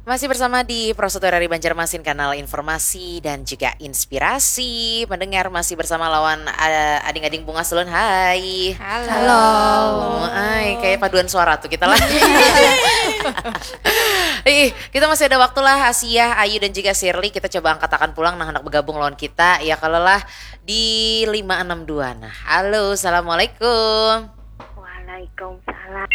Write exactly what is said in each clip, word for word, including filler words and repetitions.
Masih bersama di Prosoto R R I Banjarmasin, kanal informasi dan juga inspirasi. Pendengar, masih bersama lawan, eh, ading-ading bungas ulun. Hai. Halo. Ai, kayak paduan suara tuh kita lah. Ih, kita masih ada waktu lah, Asiah, Ayu, dan juga Shirley. Kita coba angkatakan pulang nah, handak bergabung lawan kita. Ya, kalau lah di lima enam dua. Nah, halo, assalamualaikum. Waalaikumsalam.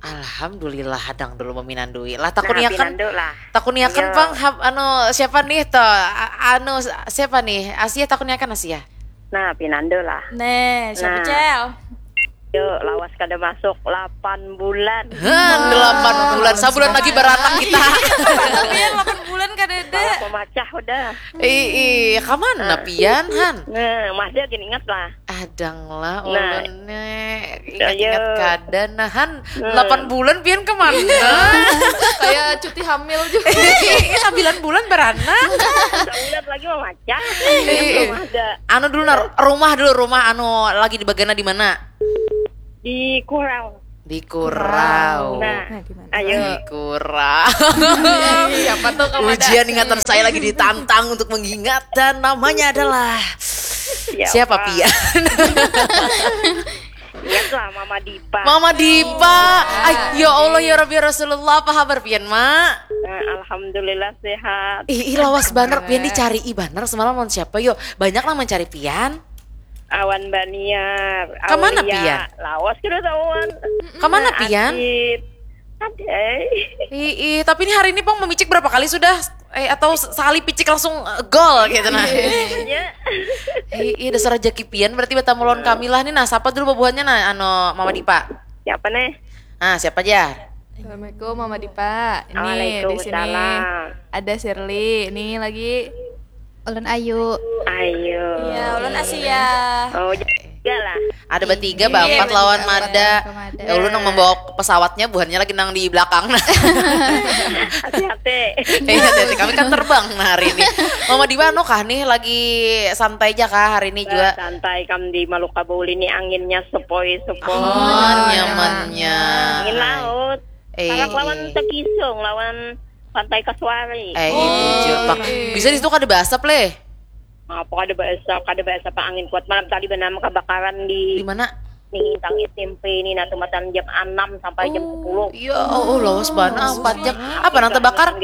Alhamdulillah, hadang dulu meminandui. Lah, takuniakan, Pinandu lah. Takuniakan Ayo. Pang, hap- anu, siapa nih toh? A- Anu, siapa nih? Asiah, takuniakan Asiah. Nah, pinandu lah. Nih, siapa Nah. Cel? Yuk, lawas kada masuk delapan bulan. Hah, delapan bulan, sabulan lagi beranak kita. Pian delapan bulan kada ada. Lawas memacah udah. Ih, ih, kamana pian, Han? Nah, masih gini ingat lah. Adang lah, Nah. ulun nih. Ingat-ingat Ayo. kada, nah, Han. Delapan bulan pian kemana? Kayak cuti hamil juga. Ih, sembilan bulan beranak. Bulan lagi memacah. Ih. Belum ada. Anu dulu, nah, rumah dulu, rumah anu lagi di bagana di mana? Di Kurau. Di Kurau. Nah, Nah, di mana? Ayo. Di Kurau. Siapa tuh kamu ada? Ujian ingatan saya lagi ditantang untuk mengingat dan namanya adalah Siapa? Siapa pian? Ingat lah Mama Dipa. Mama Dipa. Ay, ya Allah, ya Rabbi, ya Rasulullah, apa kabar pian, Mak? Nah, alhamdulillah sehat. Ih, ih, lawas banar pian, dicari ih banar semalam lawan siapa yo? Banyak lah mencari pian. Awan Baniar. Kemana Aulia. Pian? Lawas kada tahuan. Kemana Nah, pian? Adit. Ada. Ih, ih, tapi ini hari ini Pang memicik berapa kali sudah? Eh, atau se- sekali picik langsung eh, gol gitu nah. Ya. Ih, ih, dasar rejeki pian berarti bertamu lawan kami lah nih. Nah, siapa dulu bubuhannya nah, anu Mama Dipa? Siapa nih? Ah, siapa aja? Assalamualaikum Mama Dipa. Ini di Waalaikumsalam. Sini ada Shirley. Ini lagi Ulun Ayu. Ayo. Iya, ulun Asiah. Oh, juga lah. Ada bertiga, Iya, bapak bertiga, lawan bapak Mada. lawan Mada. Ya, ulun nang membawa pesawatnya, buhannya lagi nang di belakang. Hati-hati. Eh, hati-hati, kami kan terbang nah hari ini. Mama Dipa, anu kah nih, lagi santai aja kah hari ini juga? Santai kam di Maluka Bauli ini, anginnya sepoi-sepoi. Oh, nyamannya. Angin laut. Eh, Parak lawan eh. Takisung, lawan Pantai Kasuari. Eh, iya, bujur, Pak. Bisa di situ kada baasap, leh? Apa kada baasap, kada baasap, Pak, angin kuat. Malam tadi benam kebakaran di Di mana? Nih, tang S M P ini, nah, tumatan jam enam sampai jam sepuluh. Iya, oh, oh, lawas banar, empat jam. Apa nang terbakar?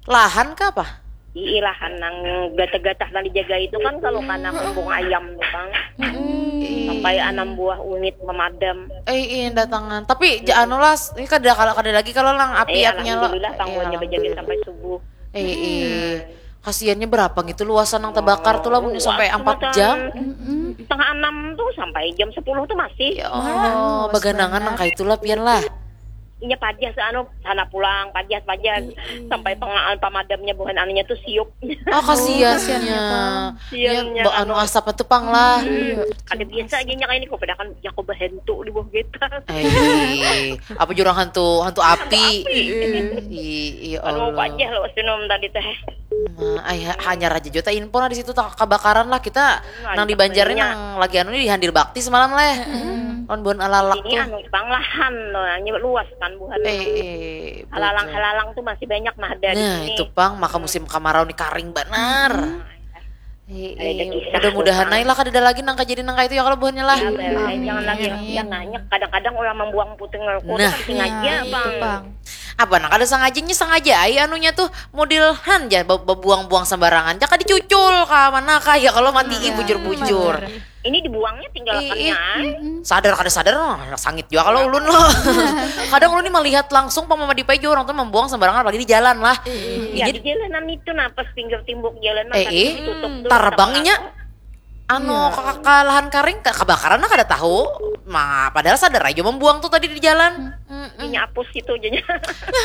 Lahan kah apa? Ii, lahan nang gatah-gatah nang dijaga itu kan, kalau kana kumbung ayam tuh, Bang. Sampai enam buah unit memadam. Eh, iya, datangan. Tapi ja- anu lah, ini kada, kalau kada lagi kalau nang api Eh, apinya lo. alhamdulillah, Iya, pangguannya berjaga alhamdulillah. Sampai subuh. Eh, eh. Kasiannya berapa gitu luasan nang terbakar tuh lah, mun sampai Luas empat tumatan. jam. Setengah enam tuh sampai jam sepuluh tuh masih. Ya Allah, baganangan nang kaitulah pian lah. Inya pajah, anu, sana pulang, pajah, pajah. Sampai pengaan pemadamnya, buhan anunya tuh siup. Oh, kasiannya. Kasiannya, Ya, ba- anu asap itu pang lah. Ada biasa aja nya kayak ini, kok padahal kan ya, kok bahentu di bawah getas. Eh, apa jurang hantu, hantu api. Ih, iya Anu, Allah. Pajah lo, senum tadi teh. Nah, ay, ha- hanyar aja juta info lah di situ, tak kebakaran lah kita. Nah, Nang di di Banjar Banjarnya. Nang lagi anu di Handil Bakti semalam leh. Lawan buhan alalak Ini tuh. Anu, pang lahan loh, hanya luas kan, buhan. Eh, eh, Halalang bujur. Halalang tuh masih banyak mah ada di Nah, sini. Itu pang, maka musim kamarau nih karing banar. Eh, Ada eh, kisah mudah-mudahan tuh, aja lah kada ada lagi nang kejadian nang kayak itu ya, kalau buhannya lah. Ya, jangan lagi yang nanya. Kadang-kadang orang membuang puting rokok Nah. Tuh sengaja, Nah, itu Bang. Bang. Apa nang kada sengaja, nya sengaja ai anunya tuh, model han ja be- bebuang-buang sembarangan, jaka dicucul ka mana kah ya, kalau mati ih, bujur-bujur. Ini dibuangnya tinggalkannya. Ih, ih. Sadar kada sadar, nah, sangit juga kalau ulun loh. Kadang ulun nih melihat langsung pang Mama Dipa jua orang tuh membuang sembarangan, apalagi di jalan lah. Ya, Jadi di jalanan itu, nah, pas pinggir timbuk jalan, Eh, masa ih. ditutup tuh, Tarbang sama inya. aku. Anu, ka, ka lahan karing, ka- kebakaran lah kada tahu. Ma, padahal sadar aja membuang tuh tadi di jalan. Mm-mm. Inya apus itu jadinya.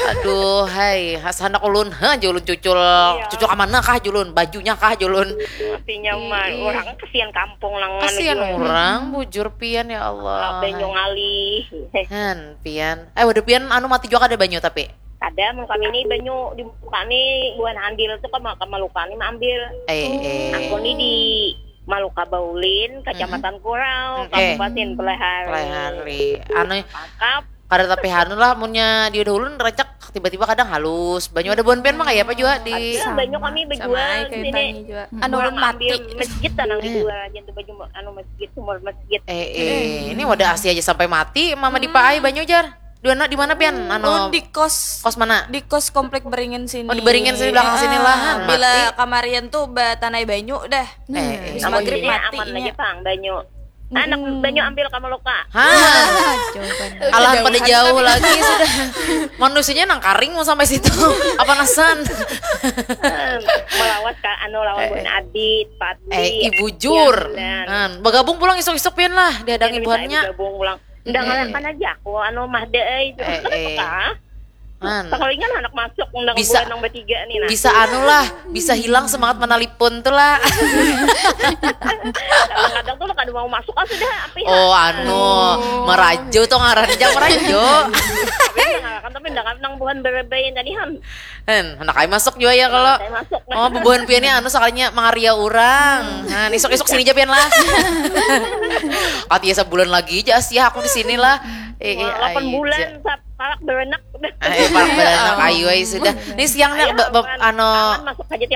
Aduh, hai, has handak ulun, ha, ja ulun cucul, cucul ka mana kah ja ulun, bajunya kah ja ulun. Artinya mah orang kasihan kampung nang anu Kasihan jual. Orang, bujur pian ya Allah. Banyu ngalih. Han, pian. Eh, waduh pian anu mati juga kada banyu tapi. Ada, mun kami ni banyu di muka ni, buhan handil tu ka, ka Maluka ni maambil. Eh, eh. Aku ni di Maluka Baulin, Kecamatan Kurau, Oke. Kabupaten Pelehari. Pelehari. Anu Tangkap. Kada tapi hanu lah, munnya di ulun rancak tiba-tiba kadang halus. Banyu ada buhan pian mah kaya apa jua di Ada banyu kami Sama bejual ai di kayak sini. tanya juga. Anu, Orang ulun mati. Ambil masjid tanang dijual aja tuh baju anu masjid, sumur masjid. Eh, eh, ini wadah asli aja sampai mati mama dipaai banyu jar. Dua nak di mana pian? Anu Oh, di kos kos mana? Di kos komplek Beringin sini. Oh, di Beringin sini, belakang sini lah, han, Bila mati. Kamarian tuh batanai banyu dah. Eh, eh. Habis Namun maghrib sini mati aman nya. Lagi pang banyu. Anak banyu ambil kamu luka. Hah, alah pada jauh lagi sudah. Manusianya nang karing mau sampai situ. Apa nasan? Melawas ka anu lawan buhan adit, pati. Eh, ibu jur. Iya, benar. Nah, bergabung pulang isuk-isuk pian lah, dihadangi Bisa buhannya. Digabung pulang. Undang kan aja aku anu mah deh. Eh, eh. Kah? Man, Sekalinya anak masuk undang Bisa- buhan nang bertiga nih nah. Bisa anu lah, bisa hilang semangat menelpon tuh lah. Kadang-kadang tuh kada mau masuk ah sudah apa ya? Oh anu, merajo tuh ngaran, jangan merajo. Tapi undang kan tapi undang nang buhan berebayan tadi han. Hen, hendak ai masuk juga ya kalau. Saya masuk. Oh, bubuhan pian ni anu sakalinya mangaria urang. Nah, isuk-isuk sini aja pian lah. Kati ya sebulan lagi aja sih aku di sini lah. Eh, eh, Delapan ai bulan ja. sa- parak beranak. Eh, parak beranak ayu ai sudah. Ini siang nih Ayo, ba- ba- aman. ano Aman masuk aja tiap